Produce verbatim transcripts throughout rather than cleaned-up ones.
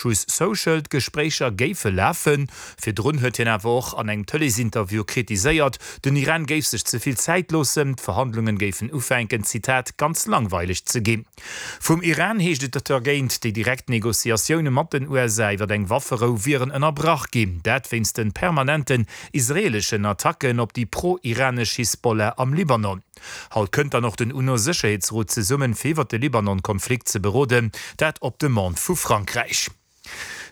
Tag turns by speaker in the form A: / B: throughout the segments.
A: Truth Social, d'Gespréicher géife lafen. Virdrun huet hien awer och an engem Tëleesinterview kritiséiert, den Iran géif sech ze vill Zäit loossen, d'Verhandlungen géifen ufänken, Zitat, ganz langweileg ze ginn. Vum Iran heescht et dergéint, déi direkt Negociatioune mat den U S A iwwer eng Wafferou wieren ënnerbrach ginn, dat wéinst de permanenten israeeleschen Attacken op déi pro-iranesch Hisbollah am Libanon. Haut kënnt dann och den UNO-Sécherheetsrot zesummen, fir iwwer de Libanon-Konflikt ze beroden, dat op Demande vu Frankräich.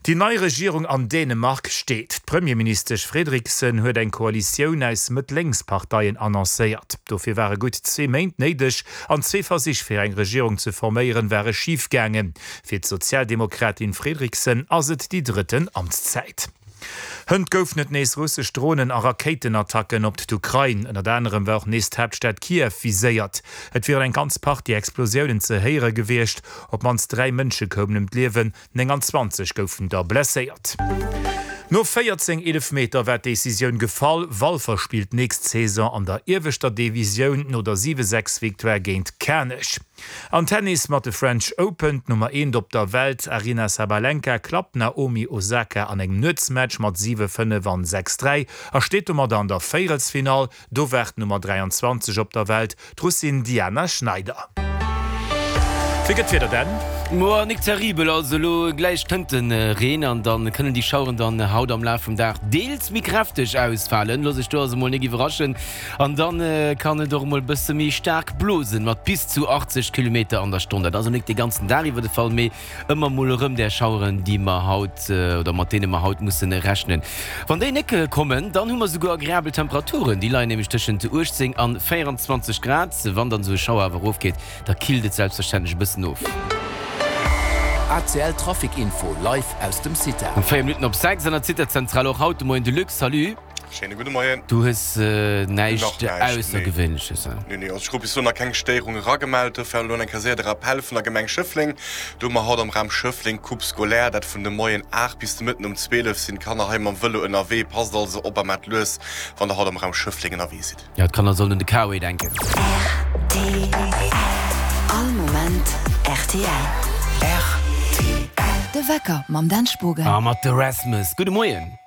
A: Déi nei Regierung an Dänemark steet. D'Premierministesch Frederiksen huet eng Koalitioun aus Mëtt-Lénks-Parteien annoncéiert. Dofir ware gutt zwee Méint néideg an zwee Versich fir eng Regierung ze forméieren ware schif gaangen. Fir d'Sozialdemokratin Frederiksen ass et déi drëtten Amtszäit. Hënt goufen et nees russesch Dronen a Rakéitenattacken op d'Ukrain. Ënnert anerem war och nees d'Haaptstad Kiew viséiert. Et wieren eng ganz Partie Explosiounen ze héiere gewiescht. Op d'mannst dräi Mënsche koumen ëm d'Liewen, nénganzwanzeg goufen der blesséiert. No véierzéng Eelefmeter war d'Decisioun gefall, Walfer spillt nächst Saison an der ieweschter Divisioun no der siwe sechs Victoire géint Kanech. An Tennis mat de French Open, D'Nummer eent op der Welt Aryna Sabalenka klappt d'Naomi Osaka an engem Nuetsmatch mat siwe fënnef an sechs dräi a steet domadder an der Véierelsfinall. Do waart d'Nummer dräianzwanzeg op der Welt, d'Russin Diana Schneider. Wéi gëtt d'Wieder denn?
B: Moa, nik terribel, also elo gläich kënnt de Reen an dann kënnen déi Schaueren dann haut am Laf vum Dag deels méi kräfteg ausfalen. Looss iech do also mol nik iwwerraschen. An dann kann et och mol bësse méi staark blosen, mat bis zu achtzeg Kilometer an der Stonn. Dat ass elo nik de ganzen Dag iwwer de Fall, mee ëmmer mol erëm där Schaueren, déi mer haut oder mat deene mer haut mussen rechnen. Wann déi nik kommen, dann hu mer souguer agreabel Temperaturen, déi leien nämlech tëschent uechtzéng an véieranzwanzeg Grad. Wann dann esou e Schauer awer erofgeet, da killt et selbstverständlech e bëssen of.
C: A C L Trafic Info live aus dem CITA.
B: Um véier Minutten op sechs an der CITA-Zentral och haut de Moien de Luc. Salut.
D: Schéine gudde Moien.
B: Du hues näischt
D: Nach näischt, nee.
B: Aussergewéinleches, he?
D: Nee, nee, also ech krut bis elo nach keng Stéierung eragemellt. Dofir elo eng Kéier séier de Rappel vun der Gemeng Schëffleng. Do hu mer haut am Raum Schëffleng Coupe scolaire, dat vun de Moien aacht bis de Mëtten um zwielef sinn d'Kanner hei mam Vëlo ënnerwee. Passt also op a maacht lues, wann der haut am Raum Schëffleng ënnerwee sidd.
B: Jo, d'Kanner sollen un de K-Way denken.
E: R T L. All Moment R T L.
C: R T L.
E: De Wecker mam Dan Spogen.
B: A mat de Rasmus. Gudde Moien.